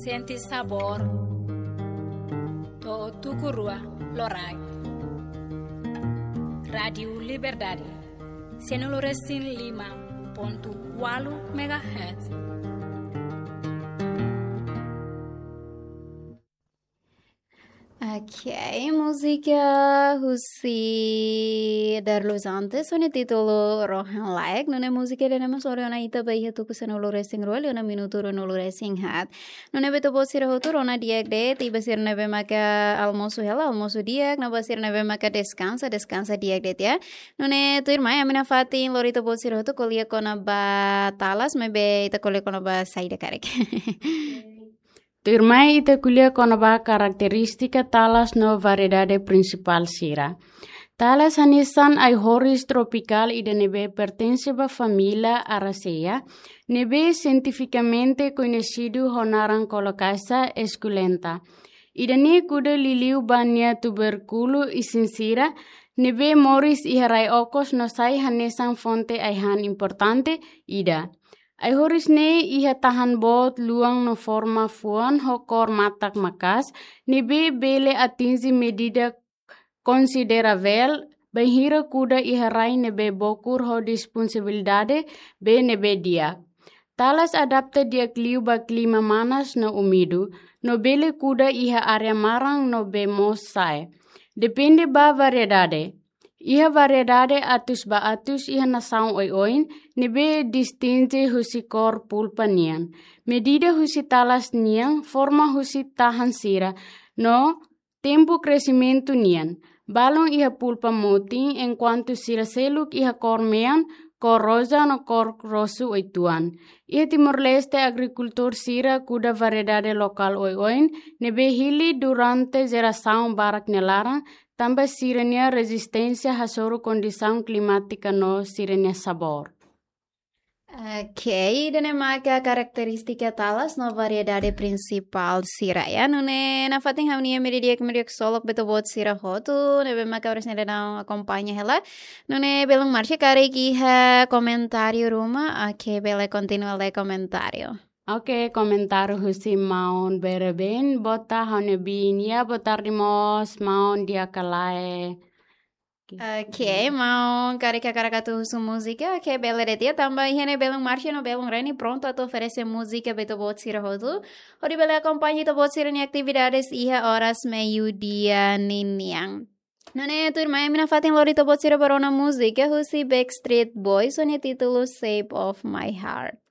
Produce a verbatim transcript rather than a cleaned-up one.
Sente sabór. To'o tuku rua loraik. Rádiu Liberdade. Sanulu resin lima pontu ualu megahertz. Ok, múzika husi Darlus Antes, ho nia títulu Rohan Laek, nune'e múzika ida-ne'e mós lori ona ita ba iha tuku sanulu resin rua, liu ona minutu ruanulu resin haat. Nune'e ba ita-boot sira hotu rona di'ak de'it, i ba sira ne'ebé maka almosu hela, almosu di'ak, no ba sira ne'ebé maka deskansa, deskansa di'ak de'it, ya. Nune'e tuirmai, ami nafatin lori ita-boot sira hotu ko'alia kona-ba talas, maibé ita ko'alia kona-ba saida karik. Tuirmai ita ko'alia kona-ba karakterístika talas no variedade prinsipál sira. Talas hanesan ai-horis tropikál ida ne'ebé pertense ba família Araceae, ne'ebé sientifikamente koñesidu ho naran Colocasia esculenta. Ida-ne'e kuda liuliu ba nia tubérkulu isin sira, ne'ebé moris iha rai okos no sai hanesan fonte ai-han importante ida. Ai-horis ne'e iha tahan boot luan no forma fuan ho kór matak maka'as, ne'ebé bele atinje medida konsideravel, bainhira kuda iha rai ne'ebé bokur ho disponibilidade bee ne'ebé di'ak. Talas adapta di'ak liu ba klima manas no úmidu, no bele kuda iha área maran no bee mós sa'e. Depende ba variedade. Iha variedade atus ba atus iha nasaun oioin, ne'ebé distinge husi kór pulpa nian. Medida husi talas nian, forma husi tahan sira, no tempu kresimentu nian. Balun iha pulpa motin, enkuantu sira seluk iha kór mean, kór roza no kór rosu uitoan. Iha Timor-Leste agrikultór sira kuda variedade lokál oioin, ne'ebé hili durante jerasaun barak nia laran, tanba sira-nia rezisténsia hasoru kondisaun klimátika no sira-nia sabór. Ok, ida-ne'e maka karakterístika talas no variedade prinsipál sira, ya. Nune'e nafatin ha'u-nia imi di'ak, imi di'ak ksolok ba ita-boot sira hotu, ne'ebé maka oras ne'e daudaun akompaña hela. Nune'e belun Marcia karik iha komentáriu ruma, ok, bele kontinua lee komentáriu. Ok, komentáriu husi maun Bereben, boa tarde, ha'u-nia biin, ya, boa tarde mós, maun, di'ak ka lae. Ok, maun karik hakarak atu husu múzika, ok, bele de'it, ya, tanba iha ne'e belun Marcia no belun Reni prontu atu oferese múzika ba ita-boot sira hotu. Hodi bele akompaña ita-boot sira-nia atividades iha oras meiudia ninian. Nune'e tuirmai ami nafatin lori ita-boot sira ba rona múzika husi Backstreet Boys ho nia títulu Shape of My Heart.